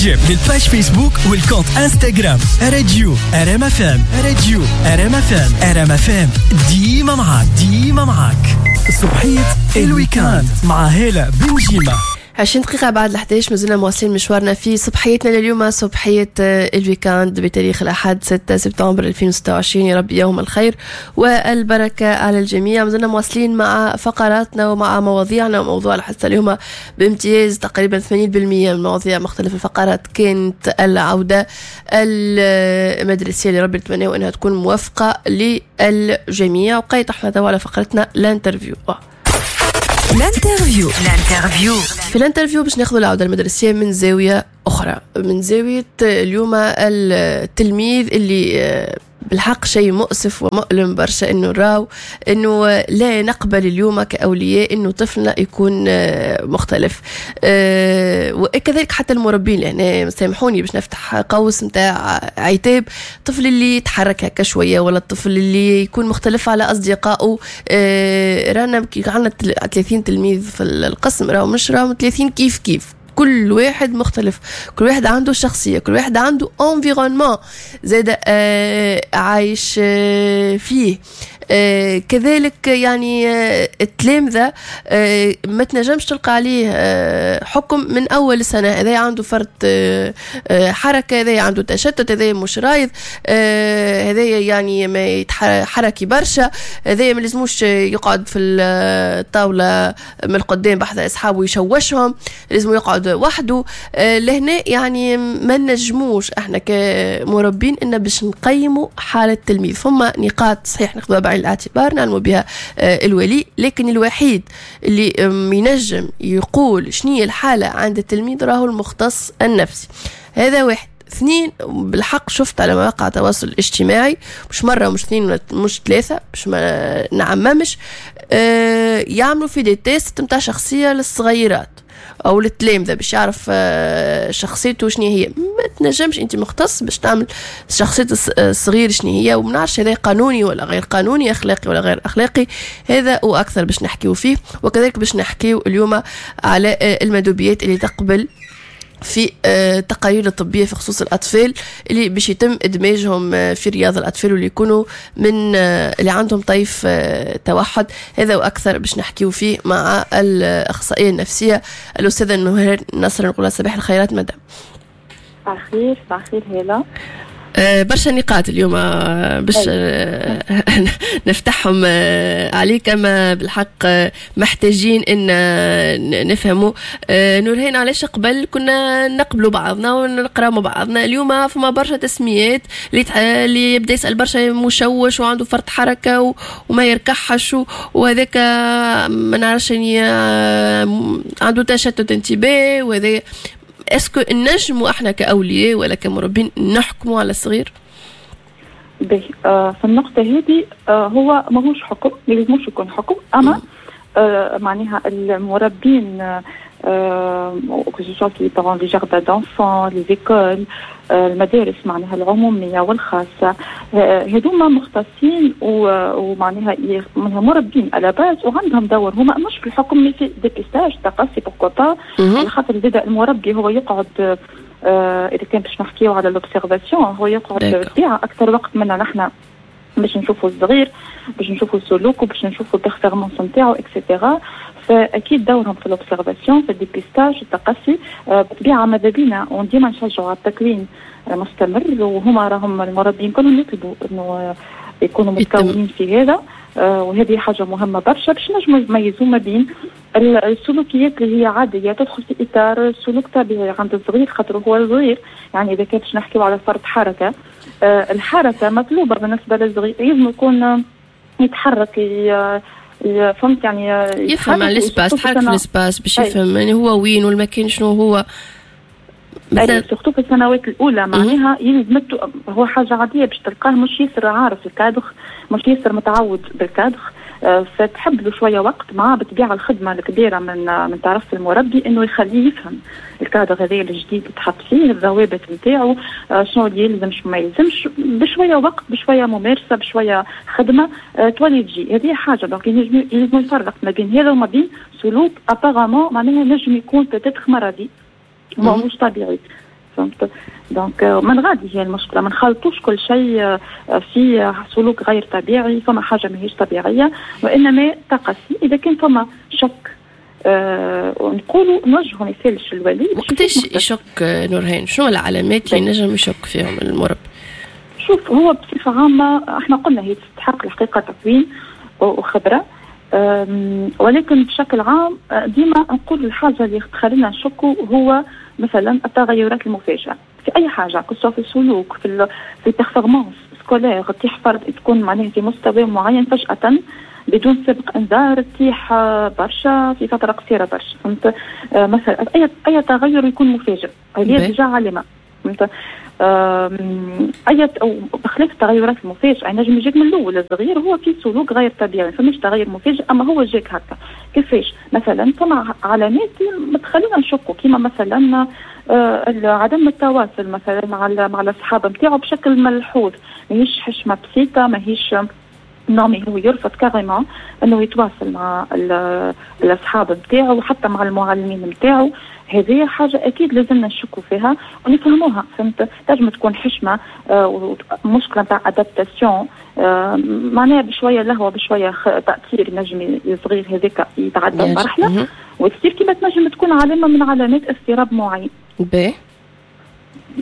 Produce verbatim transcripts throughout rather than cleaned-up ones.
جيب لل page Facebook وال compte Instagram راديو ار ام اف ام، راديو ار ام اف ام، ار ام اف ام ديما معاك، ديما معاك. صبحية ال week-end مع هالة بنجيمة. عشرين دقيقة بعد الحداش، مازلنا مواصلين مشوارنا في صبحيتنا لليوم، صبحية ال week-end بتاريخ الأحد ستة سبتمبر ألفين وستة وعشرين. يا رب يوم الخير والبركة على الجميع. مازلنا مواصلين مع فقراتنا ومع مواضيعنا، وموضوع الحصة اليوم بامتياز تقريبا ثمانين بالمية من مواضيع مختلف الفقرات كانت العودة المدرسية اللي ربي نتمنى أنها تكون موفقة للجميع. وقيت احنا توا على فقرتنا l'interview. l'interview، l'interview. في l'interview باش ناخذ العودة المدرسية من زاوية اخرى، من زاوية اليوم التلميذ اللي آه، بالحق شيء مؤسف ومؤلم برشا انه نراو انه لا نقبل اليوم كاولياء انه طفلنا يكون آه، مختلف، آه، وكذلك حتى المربين. يعني سامحوني باش نفتح قوس نتاع عتاب، الطفل اللي يتحرك هكا شوية ولا الطفل اللي يكون مختلف على اصدقائه، آه، رانا كي عندنا ثلاثين تلميذ في القسم راهو مش راهم ثلاثين كيف كيف، كل واحد مختلف، كل واحد عنده شخصية، كل واحد عنده environnement زاد آه عايش آه فيه. آه كذلك يعني آه التلامذة آه ما تنجمش تلقى عليه آه حكم من أول سنة، هذا عنده فرط آه آه حركة، هذا عنده تشتت، هذا مش رايض، آه هذا يعني ما يتحركي برشا، هذا ما لازموش يقعد في الطاولة من القدام بحذا أصحابه يشوشهم، لازم يقعد وحده. آه لهنا يعني ما نجموش احنا كمربين ان باش نقيموا حالة التلميذ. فما نقاط صحيح ناخذوها بعين الاعتبار، نعلموا بها آه، الولي، لكن الوحيد اللي ينجم يقول شنو الحالة عند التلميذ راهو المختص النفسي. هذا واحد. اثنين، بالحق شفت على مواقع التواصل الاجتماعي مش مرة مش اثنين مش ثلاثة، باش ما نعممش، آه يعملوا في des tests نتاع شخصية للصغيرات او للتلامذه باش يعرف آه، شخصيته شنو هي. ما تنجمش انت مختص باش تعمل شخصية الصغير شنو هي، وما نعرفش هذا قانوني ولا غير قانوني، اخلاقي ولا غير اخلاقي. هذا واكثر باش نحكيو فيه، وكذلك باش نحكيو اليوم على آه، المندوبيات اللي تقبل في التقارير الطبية في خصوص الاطفال اللي باش يتم ادماجهم آه، في رياض الاطفال واللي يكونوا من آه، اللي عندهم طيف آه، توحد. هذا واكثر باش نحكيو فيه مع الاخصائيه النفسية الاستاذة نهير نصر. نقول صباح الخيرات مدام. صباح الخير، صباح الخير هلا. آه، برشا نقاط اليوم آه، باش آه، نفتحهم عليك، اما بالحق محتاجين ان نفهموا. نورهان، علاش قبل كنا نقبلوا بعضنا ونقراو مع بعضنا، اليوم فما برشا تسميات اللي اللي يبدا يسال برشا مشوش وعنده فرط حركة وما يركحش وهذاك ما نعرفش يعني عنده تشتت انتباه، وهذا est-ce que نجموا احنا كاولياء ولا كمربين نحكموا على الصغير؟ باهي، آه في النقطة هذه آه هو ماهوش حكم، ما يلزموش يكون حكم، أما آه معناها المربين que ce soit les parents، les jardins d'enfants، les écoles، المدارس معناها العمومية والخاصة، هذوما مختصين ومعناها مربين à la base وعندهم دور هما مش في الحكم mais في dépistage، تقصي، pourquoi pas، على خاطر زاد المربي هو يقعد آه اذا كان باش نحكيو على l'observation هو يقعد بالطبيعة اكثر وقت منا نحن باش نشوفوا الصغير، باش نشوفوا سلوكه، باش نشوفوا ال performances نتاعو et cetera. فاكيد دورهم في l'observation، في ال dépistage، التقصي. آه، بالطبيعة ماذا بينا وديما نشجعوا على التكوين مستمر، وهما راهم المربين كلهم يطلبوا انه يكونوا متكونين في هذا، آه، وهذه حاجة مهمة برشا باش نجموا نميزوا ما بين السلوكيات اللي هي عادية تدخل في اطار سلوك طبيعي عند الصغير خاطر هو صغير. يعني اذا كان باش نحكيو على فرط حركه، آه، الحركة مطلوبه بالنسبة للصغير، لازم يكون يتحرك، فهمت يعني؟ يفهم على l'espace، تحرك في l'espace باش يفهم يعني هو وين والمكان شنو هو. مثلا surtout في السنوات الاولى معناها يلزم، هو حاجة عادية باش تلقاه مش ياسر عارف الكادر، مش ياسر متعود بالكادر، آه، فتحب له شوية وقت مع بالطبيعة الخدمة الكبيرة من من طرف المربي انه يخليه يفهم الكادر هذا الجديد اللي تحط فيه، الضوابط نتاعو، آه، شنو اللي يلزم، شنو ما يلزمش. بشوية وقت، بشوية ممارسه، بشوية خدمه، آه، تولي تجي. هذه حاجه. donc يلزم يفرق ما بين هذا وما بين سلوك apparemment معناها نجم يكون peut-être مرضي، مش طبيعي. فهمت؟ donc من غادي هي المشكلة، ما نخلطوش كل شيء في سلوك غير طبيعي، فما حاجة ماهيش طبيعية، وانما تقصي اذا كان فما شك أه نقولوا نوجهوا ما يسالش الولي. وقتاش يشك نورهان؟ شنو العلامات اللي نجم يشك فيهم المربي؟ شوف، هو بصفة عامة احنا قلنا هي تستحق الحقيقة تكوين وخبره، ولكن بشكل عام ديما نقول الحاجة اللي تخلينا نشكوا هو مثلا التغيرات المفاجئة في اي حاجة، que ce soit في السلوك، في في ال performance scolaire، تطيح فرد تكون معناها في مستوى معين فجاة بدون سابق انذار تطيح برشا في فترة قصيرة برشا، فهمت؟ مثلا اي اي تغير يكون مفاجئ هذه déjà علامه، فهمت؟ اي او بخلاف التغيرات المفاجئة نجم يجيك من الاول الصغير هو في سلوك غير طبيعي، فمش تغير مفاجئ اما هو جاك هكا. كيفاش؟ مثلا فما علامات ما تخلينا نشكوا، كيما مثلا عدم التواصل مثلا مع مع الاصحاب نتاعو بشكل ملحوظ، ماهيش حشمه بسيطه، ماهيش non، هو يرفض carrément انه يتواصل مع الاصحاب نتاعو وحتى مع المعلمين نتاعو. هذه حاجة اكيد لازمنا نشكوا فيها ونفهموها، فهمت؟ تنجم تكون حشمه آه مشكلة نتاع adaptation، آه معناها بشوية لهوه بشوية تاثير نجم الصغير هذاك يتعدى المرحلة وتصير، كيما تنجم تكون علامة من علامات اضطراب معين. باهي.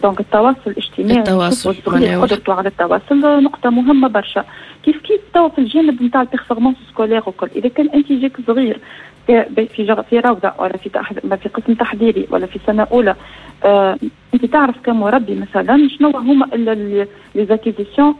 donc التواصل الاجتماعي، التواصل، قدرته على التواصل نقطة مهمة برشا. كيف كيف توا في الجانب نتاع ال performance scolaire وكل، إذا كان أنت جاك صغير في في روضة ولا في في قسم تحضيري ولا في سنة أولى، آه أنت تعرف كمربي مثلا شنو هما les acquisitions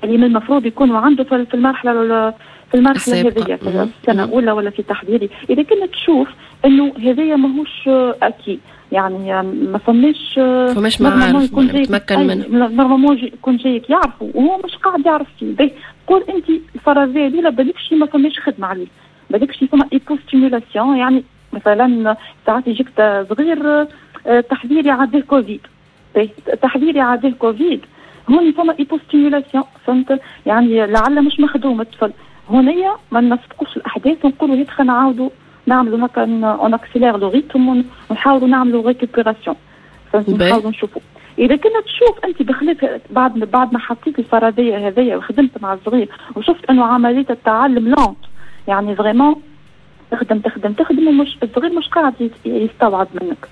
اللي من المفروض يكونوا عنده في المرحلة في المرحلة هذيا، في السنة الأولى ولا في تحضيري. إذا كنت تشوف إنه هذايا ماهوش acquis، يعني ما فماش فماش معارف متمكن منه، normalement يكون جايك يعرفوا وهو مش قاعد يعرف فيه. قول انت الفرضية الاولى بالكش ما فماش خدمة عليه، بالكش فما hypostimulation، يعني مثلا ساعات يجيك صغير تحضيري عداه كوفيد، تحضيري عداه كوفيد، هون فما hypostimulation، فهمت؟ يعني لعل مش مخدوم الطفل. هنايا ما نسبقوش الاحداث ونقولوا هيك نعاودوا نعملوا هكا on accélère le rythme ونحاولوا نعملوا récupération، نحاولوا نشوفوا. اذا كنا تشوف انت بخلاف بعد بعد ما حطيت الفرضية هذيا وخدمت مع الصغير وشفت انه عملية التعلم lente، يعني vraiment تخدم تخدم تخدم ومش الصغير مش قاعد يستوعب منك،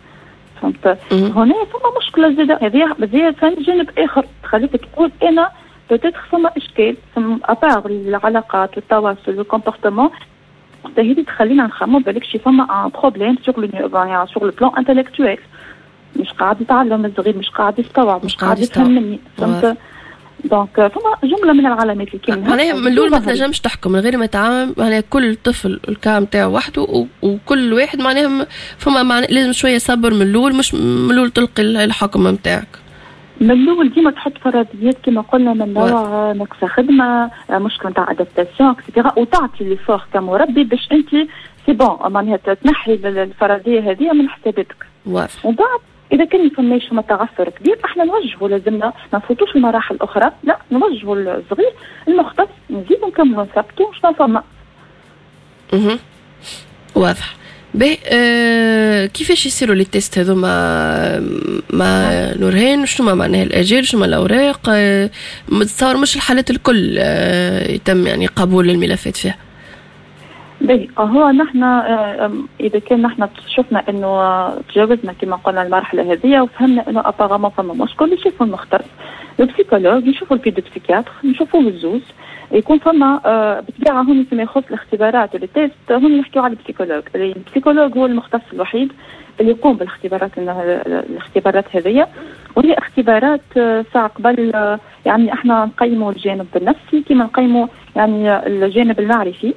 فهمت؟ هنا فما مشكلة زاده، هذه هذه جانب اخر تخليك تقول انا peut-être فما اشكال فما à part العلاقات والتواصل وال comportement، هذه تخلينا نخمو بالك شي فما un problème sur le sur le plan intellectuel، مش قاعد يتعلم الصغير، مش قاعد يستوعب، مش قاعد يفهم مني، فهمت؟ donc فما جملة من العلامات اللي كاينه. معناها من الاول ما تنجمش تحكم من غير ما تعمم، معناها كل طفل ال cas نتاعو وحده، وكل واحد معناها فما معنى لازم شوية صبر من الاول، مش من الاول تلقي الحكم نتاعك. من الاول ديما تحط فرضيات كما قلنا من نوع نقص خدمة، مشكلة نتاع adaptation et cetera، وتعطي l'effort كمربي باش انت c'est bon معناها تنحي الفرضية هذه من حساباتك. واضح. ومن بعد اذا كان ما فماش فما تعثر كبير احنا نوجهوا، لازمنا ما نفوتوش المراحل الاخرى، لا نوجهوا الصغير المختص، نزيدوا نكملوا نثبتوا شنو فما. اها واضح. باهي آه كيفاش يصيروا les tests هذوما مع نورهان؟ شنو معناها الاجال، شنو الاوراق؟ آه متصور مش الحالات الكل آه يتم يعني قبول الملفات فيها. باهي هو نحن اذا كان نحن شفنا انه تجاوزنا كما قلنا المرحلة هذه وفهمنا انه apparemment فما مشكل، يشوفوا المختص ال psychologue، يشوفوا ال pédopsychiatre، نشوفوه الزوز، يكون فما بالطبيعة هون فيما يخص الاختبارات و les tests هون نحكيو على ال psychologue، ال psychologue هو المختص الوحيد اللي يقوم بالاختبارات الاختبارات هذه، وهي اختبارات ساعة قبل يعني احنا نقيموا الجانب النفسي كما نقيموا يعني الجانب المعرفي،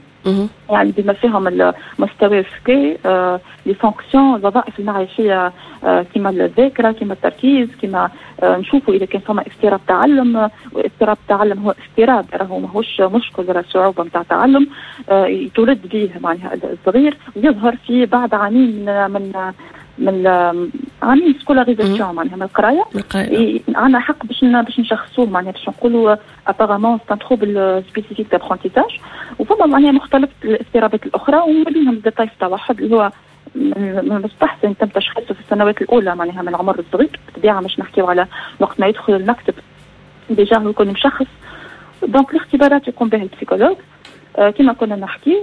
يعني بما فيهم المستوى الذكاء، آه، les fonctions، الوظائف المعرفيه، آه، كما الذاكرة كما التركيز، كما آه، نشوفوا اذا كان فما اضطراب تعلم، واضطراب التعلم هو اضطراب راهو ماهوش مشكل ولا صعوبة نتاع تعلم، آه، يتولد به معناها الصغير ويظهر في بعد عامين من من من عامين scolarisation معناها من القراية، عندنا حق باش باش نشخصوه معناها باش نقولوا apparemment c'est un trouble spécifique d'apprentissage. وفما معناها مختلف الاضطرابات الاخرى ومن بينهم طيف التوحد اللي هو من المستحسن يتم تشخيصه في السنوات الاولى معناها من العمر الصغير. بالطبيعة مش نحكيو على وقت ما يدخل المكتب déjà هو يكون مشخص. donc الاختبارات يقوم بها ال psychologue آه كما كنا نحكي.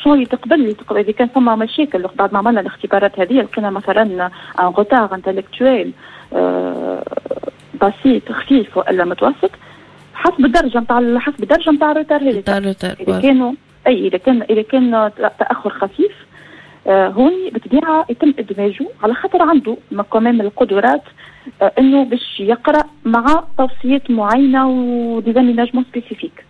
شنو يتقبل يتقبل اذا كان فما مشاكل بعد ما عملنا الاختبارات هذه، لقينا مثلا un retard intellectuel بسيط خفيف والا متوسط، حسب الدرجة نتاع حسب الدرجة نتاع ال retard هذه. اذا كانوا اي اذا كان اذا كان تاخر خفيف آه هوني بالطبيعة يتم ادماجه على خاطر عنده quand même القدرات آه انه باش يقرا مع توصيات معينة و des aménagements spécifiques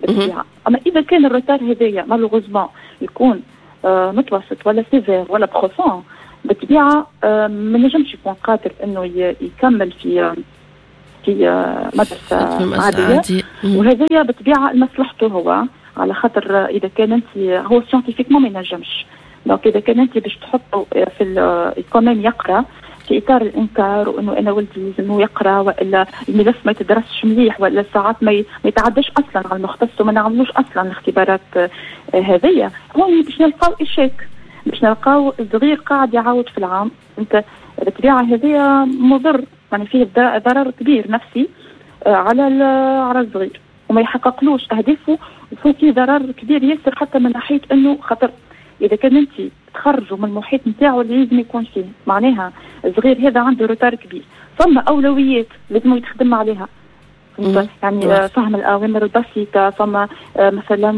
بالطبيعة. اما اذا كان ال retard هذايا malheureusement يكون آه متوسط ولا sévère ولا profond، بالطبيعة آه ما نجمش يكون قادر انه يكمل في في مدرسه عادية، وهذايا بالطبيعة لمصلحته هو، على خاطر اذا كان انت هو scientifiquement ما ينجمش. donc اذا كان انت باش تحطه في quand même يقرا في اطار الانكار وانه انا ولدي لازم يقرا، والا الملف ما يتدرسش مليح، والا ساعات ما يتعداش اصلا على المختص وما نعملوش اصلا الاختبارات هذيا، هون باش نلقاو échec، باش نلقاو الصغير قاعد يعاود في العام. انت بالطبيعة هذيا مضر، يعني فيه ضرر كبير نفسي على على الصغير وما يحققلوش اهدافه، وفيه ضرر كبير ياسر حتى من ناحية انه خاطر اذا كان انت تخرجوا من المحيط نتاعو اللي لازم يكون فيه، معناها الصغير هذا عنده retard كبير، فما اولويات لازم يتخدم عليها، يعني فهم الاوامر البسيطة، فما مثلا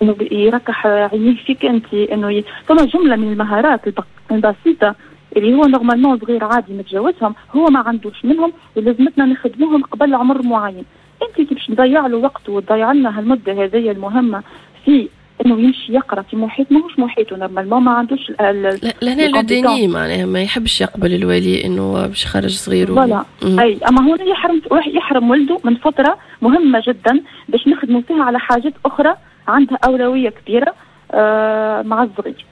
انه يركح عينيه فيك انت، انه ي... فما جملة من المهارات البسيطة اللي هو normalement صغير عادي متجاوزهم، هو ما عندوش منهم ولازمتنا نخدموهم قبل عمر معين. انت كي باش تضيع له وقته وتضيع لنا هالمده هذه المهمة في انه يمشي يقرا في محيط ماهوش محيطه normalement، ما عندوش لهنا le déni معناها ما يحبش يقبل الولي انه باش يخرج صغير voilà. اي اما هنا يحرم يحرم ولده من فترة مهمة جدا باش نخدموا فيها على حاجات اخرى عندها اولوية كبيرة آه مع الصغير.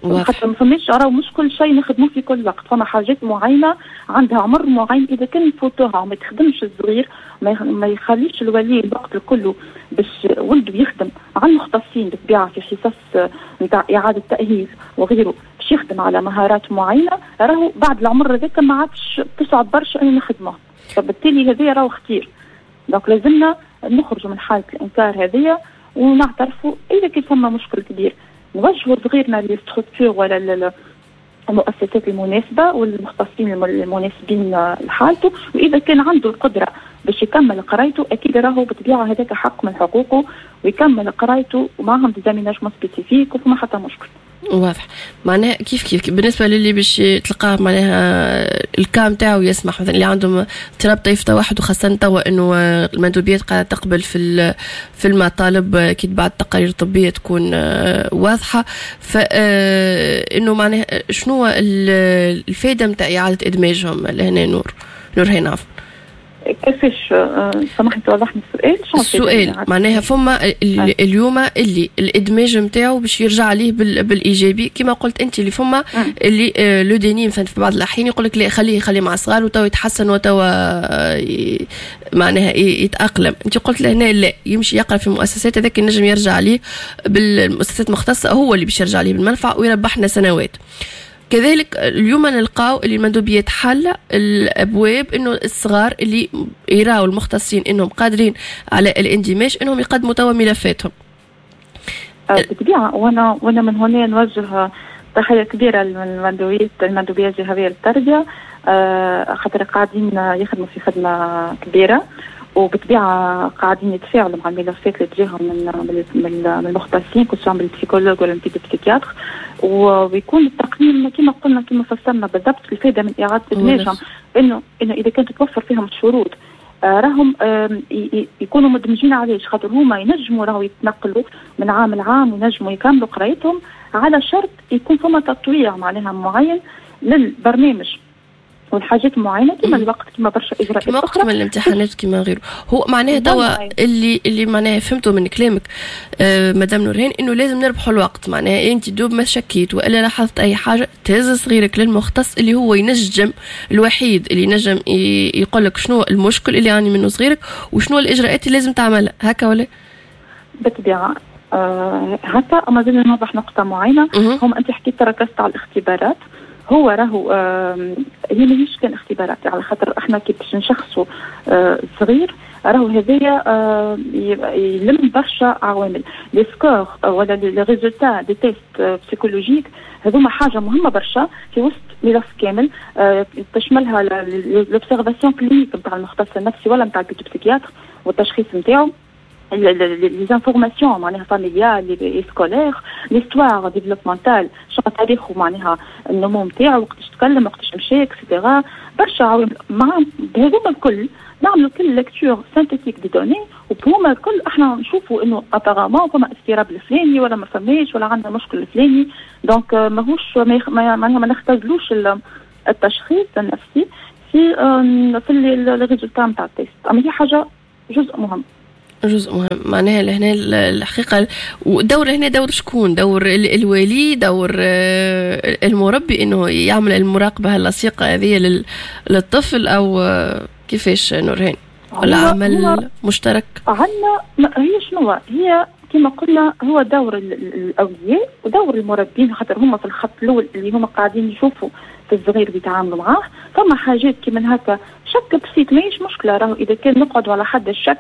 خاطر ما فماش راهو مش كل شيء نخدموه في كل وقت، فما حاجات معينة عندها عمر معين اذا كان نفوتوها وما يتخدمش الصغير، ما يخليش الولي الوقت الكل باش ولده يخدم مع المختصين بالطبيعة في حصص نتاع اعاده تاهيل وغيره باش يخدم على مهارات معينة، راهو بعد العمر هذاك ما عادش تصعب برشا انه نخدموه، فبالتالي هذا راهو خطير. donc لازمنا نخرجوا من حاله الانكار هذيا ونعترفوا اذا كان فما مشكل كبير نوجهوا صغيرنا لل structures ولا المؤسسات المناسبة والمختصين المناسبين لحالته، واذا كان عنده القدرة باش يكمل قرايته اكيد راهو بالطبيعة هذاك حق من حقوقه ويكمل قرايته ومعهم des aménagements spécifiques وفما حتى مشكل. واضح. معناها كيف كيف بالنسبة للي باش تلقاه معناها ال cas نتاعو يسمح، مثلا اللي عندهم اضطراب طيف توحد، وخاصة توا انه المندوبيات قاعدة تقبل في في المطالب كي تبعت تقارير طبية تكون واضحة، فانه معناها شنو الفائدة نتاع اعاده ادماجهم لهنا نور نور هنا عفوا. كيفاش سامحني توضح لي السؤال؟ السؤال معناها فما اليوم اللي الادماج نتاعو باش يرجع عليه بالايجابي كما قلت انت، اللي فما اللي le déni مثلا في بعض الاحيان يقول لك لا خليه خليه مع الصغار وتو يتحسن وتو معناها يتاقلم، انت قلت لهنا لا يمشي يقرا في مؤسسات هذاك ينجم يرجع عليه بالمؤسسات المختصة، هو اللي باش يرجع عليه بالمنفعه ويربحنا سنوات. كذلك اليوم نلقاو اللي المندوبيات حل الابواب انه الصغار اللي يراو المختصين انهم قادرين على الاندماج انهم يقدموا توا ملفاتهم. بالطبيعة وانا وانا من هنا نوجه تحية كبيرة للمندوبيه المندوبيه الجهوية للتربية، خاطر قاعدين يخدموا في خدمة كبيرة، وبالطبيعه قاعدين يتفاعلوا مع الملفات اللي تجيهم من من المختصين que ce soit من ال psychologue ولا من ال pédopsychiatre، ويكون التقييم كما قلنا كما فسرنا بالضبط الفائدة من اعاده ادماجهم انه انه اذا كانت تتوفر فيهم الشروط راهم يكونوا مدمجين. علاش؟ خاطر هما ينجموا راهو يتنقلوا من عام لعام وينجموا يكملوا قرايتهم على شرط يكون فما تطويع معناها معين للبرنامج والحاجات معينة كما الوقت كما برشا اجراءات كما اخرى كما الامتحانات كما غيره. هو معناها توا اللي اللي معناها فهمته من كلامك آه مدام نورهان انه لازم نربحوا الوقت، معناها انت دوب ما شكيت والا لاحظت اي حاجة تهز صغيرك للمختص اللي هو ينجم، الوحيد اللي ينجم يقول لك شنو المشكل اللي يعاني منه صغيرك وشنو الاجراءات اللي لازم تعملها، هكا ولا؟ بالطبيعة آه هكا اما زاد نوضح نقطة معينه. هم انت حكيت ركزت على الاختبارات، هو راهو آه هي ماهيش كان اختبارات، على خاطر احنا كي باش نشخصوا آه صغير راهو هذايا آه يلم برشا عوامل، les scores ولا les résultats des tests psychologiques هذوما حاجة مهمة برشا في وسط ملف كامل آه تشملها l'observation clinique نتاع المختص النفسي ولا نتاع ال pédopsychiatre والتشخيص نتاعو، les informations معناها familiales et scolaires، l'histoire développementale، شنو تاريخه معناها النمو نتاعو، وقتاش تكلم، وقتاش مشى، et cetera. برشا عوامل، مع بهذوما الكل نعملوا كل lecture synthétique des données، وبهما الكل احنا نشوفوا انه apparemment فما اضطراب الفلاني ولا ما فماش ولا عندنا مشكل الفلاني. donc ماهوش معناها ما نختزلوش التشخيص النفسي في في les résultats نتاع ال test، اما هي حاجة جزء مهم. جزء مهم معناها لهنا الحقيقة. ودور هنا دور شكون؟ دور الولي، دور آه، المربي، انه يعمل المراقبة اللصيقة هذه للطفل، او آه، كيفاش نورهان؟ ولا عمل مشترك؟ عندنا هي شنو هي كما قلنا هو دور الاولياء ودور المربين، خاطر هما في الخط الاول اللي هما قاعدين يشوفوا في الصغير بيتعاملوا معاه. فما حاجات كيما هكا شك بسيط ماهيش مشكله، راهو اذا كان نقعدوا على حد الشك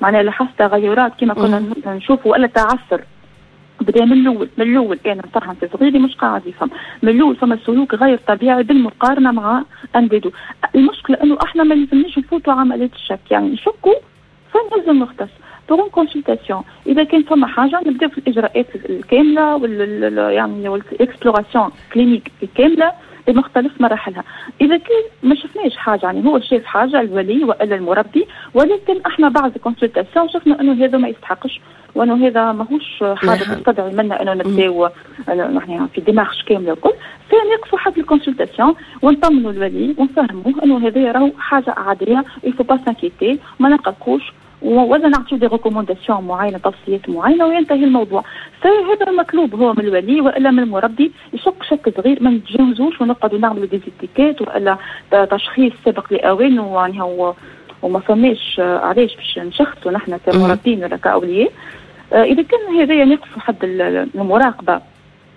معناها لاحظت تغيرات كما كنا نشوفوا ولا تعثر بدا من الاول، من الاول انا نفهم في صغيري مش قاعد يفهم من الاول، فما سلوك غير طبيعي بالمقارنة مع انداده. المشكلة انه احنا ما لازمناش نفوتوا عملية الشك، يعني نشكوا فنلزم المختص pour une consultation. اذا كان فما حاجة نبداو في الاجراءات الكاملة وال يعني وال exploration clinique الكاملة بمختلف مراحلها. اذا كان ما شفناش حاجه، يعني هو شاف حاجة الولي والا المربي، ولكن احنا بعد consultation شفنا انه هذا ما يستحقش وانه هذا ماهوش حاجة نعم. تستدعي منا انه نبداو نحن في démarche كاملة الكل، فنقفوا حد ال consultation ونطمنوا الولي ونفهموه انه هذا راهو حاجة عاديه، il faut pas s'inquiéter، ما نقلقوش، ولا نعطيو des recommandations معينه، توصيات معينه، وينتهي الموضوع. فهذا المطلوب هو من الولي والا من المربي، يشك شك صغير، ما نتجاوزوش ونقعدوا نعملوا des étiquettes والا تشخيص سابق لاوانه، يعني هو وما فماش علاش باش نشخصوا نحن كمربين ولا كاولياء. آه، اذا كان هذا ينقص حد المراقبة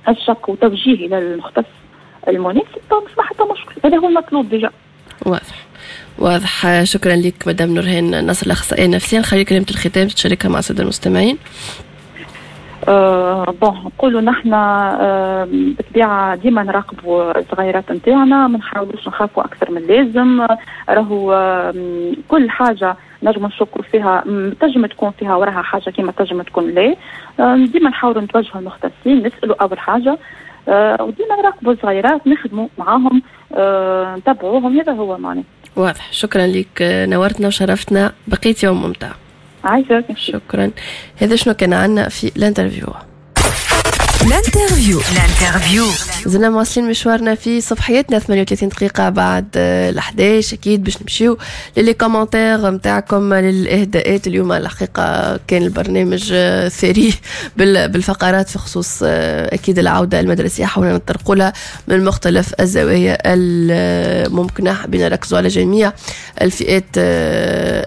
الشك وتوجيه الى المختص المناسب ما حتى مشكل، هذا هو المطلوب déjà. واضح واضح، شكرا لك مدام نورهان نصر الاخصائيه النفسيه. نخلي كلمة الختام تشاركها مع السادة المستمعين. أه bon، نقولوا نحن أه بالطبيعة ديما نراقبوا الصغيرات نتاعنا، ما نحاولوش نخافوا اكثر من اللازم. راهو أه كل حاجة نجم نشكوا فيها تنجم تكون فيها وراها حاجه، كما تنجم تكون لا. أه ديما نحاولوا نتوجهوا المختصين نسالوا اول حاجه، أه وديما نراقبوا الصغيرات، نخدموا معاهم، أه نتبعوهم، هذا هو معناه. واضح، شكرا لك، نورتنا وشرفتنا، بقيت يوم ممتع. عايشك. شكرا. هذا شنو كان عندنا في l'interview. l'interview l'interview. زلنا مواصلين مشوارنا في صبحيتنا، ثمانية وثلاثين دقيقة بعد ال إحداش. أكيد باش نمشيو ل les commentaires نتاعكم، للإهداءات. اليوم الحقيقة كان البرنامج ثري بالفقرات في خصوص أكيد العودة المدرسية، حاولنا نطرقوا لها من مختلف الزوايا الممكنة، حبينا نركزوا على جميع الفئات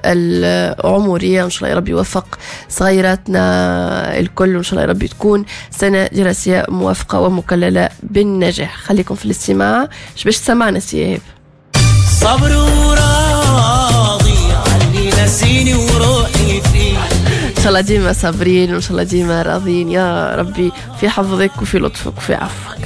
العمرية. إن شاء الله يا ربي يوفق صغيراتنا الكل، وإن شاء الله يا ربي تكون سنة دراسية موفقة ومكللة بالنجاح. خليكم في الاستماع، اش باش تسمعنا سي إيهاب؟ صبر وراضي علي نسيني وروحي فيه. ان شاء الله ديما صابرين وان شاء الله ديما راضيين يا ربي، في حفظك وفي لطفك وفي عفوك.